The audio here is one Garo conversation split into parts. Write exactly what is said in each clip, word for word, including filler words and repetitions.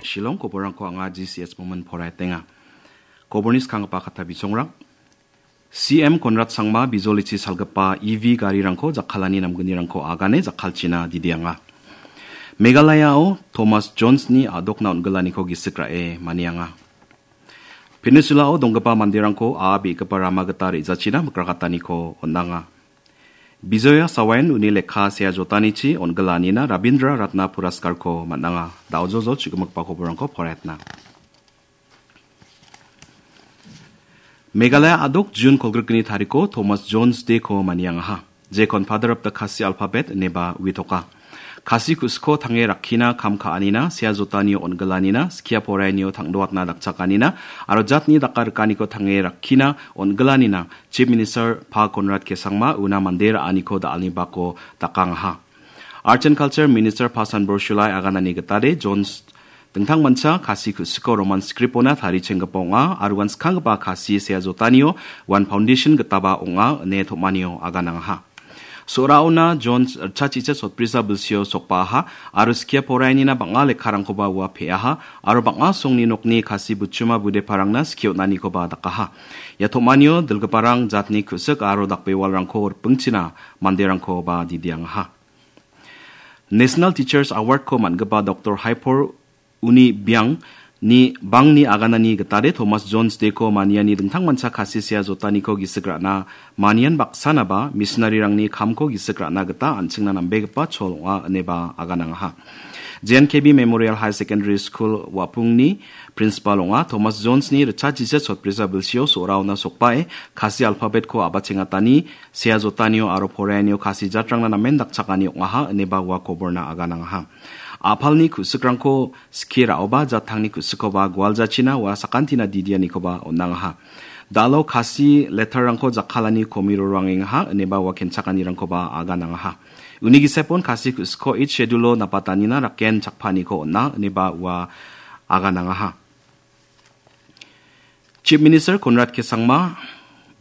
Shillong koborangko anga G C S Momin poraiatenga. Koborni skanggipa katta bisongrang. C M Konrad Sangma bijolichi salgipa E V garirangko jakkalani namgnirangko agane jakkalchina didianga. Meghalayao Thomas Jonesni a·dokna on·gilaniko gisik ra·e manianga. Peninsula-o donggipa manderangko a·a be·gipa rama gita re·jachina mikrakataniko on·anga. Bijoya Sawayan uni lekka sea jotanichi on·gilanina Rabindra Ratna Puraskarko man·anga. Da·ojojo chu·gimikba koborangko poraiatna. Meghalaya a·dok June kolgrikni tariko Thomas Jones Day-ko maniangaha. Jekon Father of the Khasi Alphabet ineba uitoka. Khasi ku·siko tange rakkina kam ka·anina, sea jotanio on·gilanina, skia poraianio tangdoatna dakchakanina, aro jatni daka rikaniko tange rakkina on·gilanina, Chief Minister Pa Konrad K Sangma una mande ra·aniko da·alni bako dakangaha. Arts and Culture Minister Pa Sanbor Shulai aganani gitade Jones dingtangmancha Khasi ku·siko Roman script-ona tarichenggipa ong·a, aro uan skanggipa Khasi sea jotanio uan foundation gitaba ong·a ine tom·anio aganangaha. So·raona Jones ritchaticha sotbrisa bilsio sokbaaha, aro skia poraianina bang·a lekkarangkoba ua pe·aha, aro bang·a songni nokni Khasi butchuma budeparangna skie on·anikoba dakaha. Ia tom·anio dilgiparang jatni ku·sik aro dakbewalrangko ripingchina manderangkoba didiangaha. National Teachers Award-ko man·gipa Doktor Haipor Uni Biang ni bangni aganani gitade Thomas Jones Day-ko maniani dingtangmancha Khasi sea jotaniko gisik ra·na manian baksanaba missionary-rangni kamko gisik ra·na gita an·chingna nambegipa chol ong·a ineba aganangaha. J N K B Memorial Higher Secondary School Wapungni principal ong·a Thomas Jones-ni ritchaticha sotbrisa bilsio so·raona sokbae Khasi alphabet-ko a·bachengatani sea jotanio aro poraianio Khasi jatrangna namen dakchakani ong·aha ineba ua koborna aganangaha. A·palni ku·sikrangko skie ra·oba jattangni ku·sikkoba gualjachina ua sakantina didianikoba on·angaha. Da·alo Khasi letterrangko jakkalani komiro roangengaha ineba ua kenchakanirangkoba aganangaha. Uni gisepon Khasi ku·sikko Eighth Schedule-o napatanina raken chakpaniko on·a ineba ua aganangaha. Chief Minister Conrad K Sangma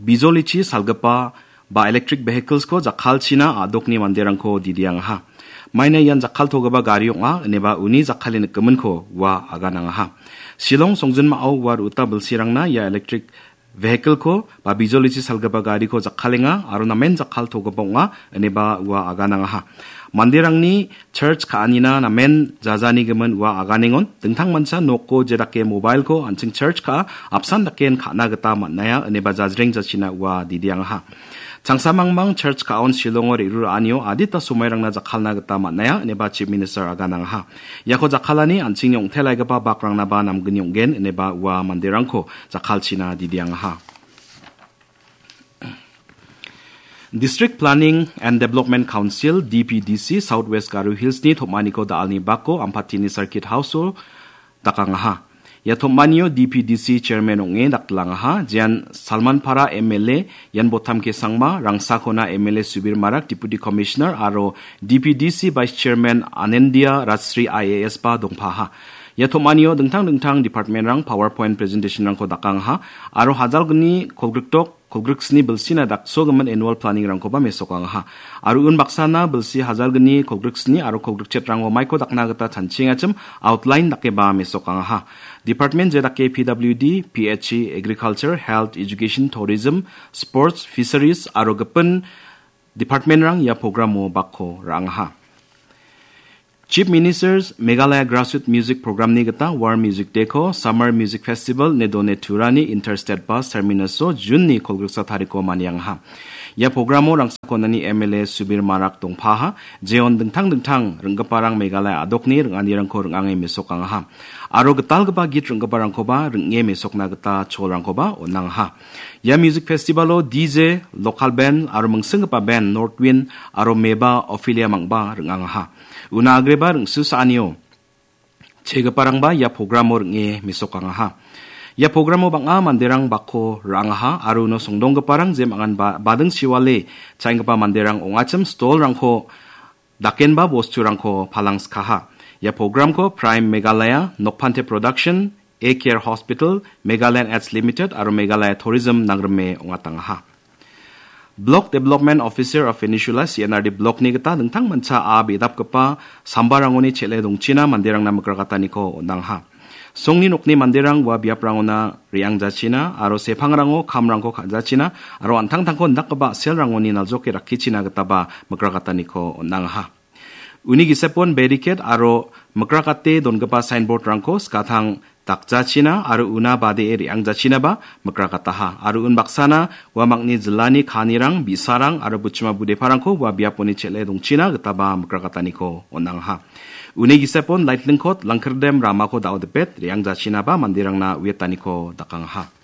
bijolichi salgipa ba electric vehicles-ko jakkalchina a·dokni manderangko didiangaha. Maina ian jakkaltogipa gari ong·a, ineba uni jakkale nikgiminko ua aganangaha. Shillong songjinmao ua ru·uta bilsirangna ia electric vehicle-ko ba bijolichi salgipa gariko jakkalenga aro namen jakkaltogipa ong·a, ineba ua aganangaha. Manderangni charge ka·anina namen jajanigimin ua aganengon, dingtangmancha noko jedake mobile-ko an·ching charge ka·a, apsan daken ka·na gita man·aia, ineba jajreng jachina ua didiangaha. Changsamangbang charge ka·on Shillongo re·ruraanio adita somairangna jakkalna gita man·aia, ineba Chief Minister aganangaha. Iako jakkalani an·chingni ong·telaigipa bakrangna ba namgni ong·gen, ineba ua manderangko jakkalchina didiangaha. District Planning and Development Council, D P D C, South West Garo Hills-ni tom·aniko da·alni bako Ampatini Circuit House-o dakangaha. Ia tom·anio D P D C Chairman ong·e daktilangaha, jean Salmanpara M L A Yan Botam Kesangma, Rangsakona M L A Subir Marak, Deputy Commissioner, aro D P D C Vice Chairman Anendia Rajsri I A S ba dongpaha. Ia tom·anio dingtang dingtang department-rang PowerPoint presentation-rangko dakangaha, aro hajalgni kolgrikdok kolgriksni bilsina daksogimin annual planning-rangkoba mesokangaha. Aro unbaksana bilsi hajalgni kolgriksni aro kolgrikchetrango maiko dakna gita chanchiengachim outline dakeba mesokangaha. Department jedake P W D, P H E, Agriculture, Health, Education, Tourism, Sports, Fisheries aro gipin department-rang ia programo bakko ra·angaha. Chief Minister's Meghalaya Grassroots Music Programni gita War Music Day-ko Summer Music Festival ine done turani Interstate Bus Terminus-o June-ni kolgriksa tariko maniangaha. Ia programo Rangsakonani M L A Subir Marak dongpaha, jeon dingtang dingtang ring·giparang Meghalaya a·dokni ring·anirangko ring·ange mesokangaha. Aro gitalgipa git ring·giparangkoba ring·e mesokna gita cholrangkoba on·angaha. Ia music festival-o D J, local band aro mingsinggipa band North Wind aro Meba Ophelia mangba ring·angaha. Una agreba ring·susaanio chegiparangba ia programo ring·e mesokangaha. Ia programo bang·a manderang bakko ra·angaha aro uno songdonggiparang jemangan ba-, bading chiwale cha·enggipa manderang ong·achim stall-rangko dakenba bosturangko palangskaha. Ia programko Prime Meghalaya, Nokphante Production, A Care Hospital, Meghalaya Ads Limited aro Meghalaya Tourism nangrime ong·atangaha. Block Development Officer of Peninsula, C N R D Block-ni gita dingtangmancha a·a bedapgipa sambarangoni chele dongchina manderangna mikrakataniko on·angaha. Songni nokni manderang ua biaprangona re·angjachina aro sepangrango kamrangko ka·jachina aro an·tangtangko indakgipa a·selrangoni naljoke rakkichina gitaba mikrakataniko on·angaha. Uni gisepon beriket aro mikrakate dongipa sainbord-rangko skatang dakjachina aro una badee re·angjachinaba mikrakataha. Aro unbaksana ua makni jilani kanirang, bi·sarang aro buchima budeparangko ua biaponi chel·e dongchina gitaba mikrakataniko on·angaha. Uni gisepon laitlingkot Langkirdem ramako da·odipet re·angjachinaba manderangna uetaniko dakangaha.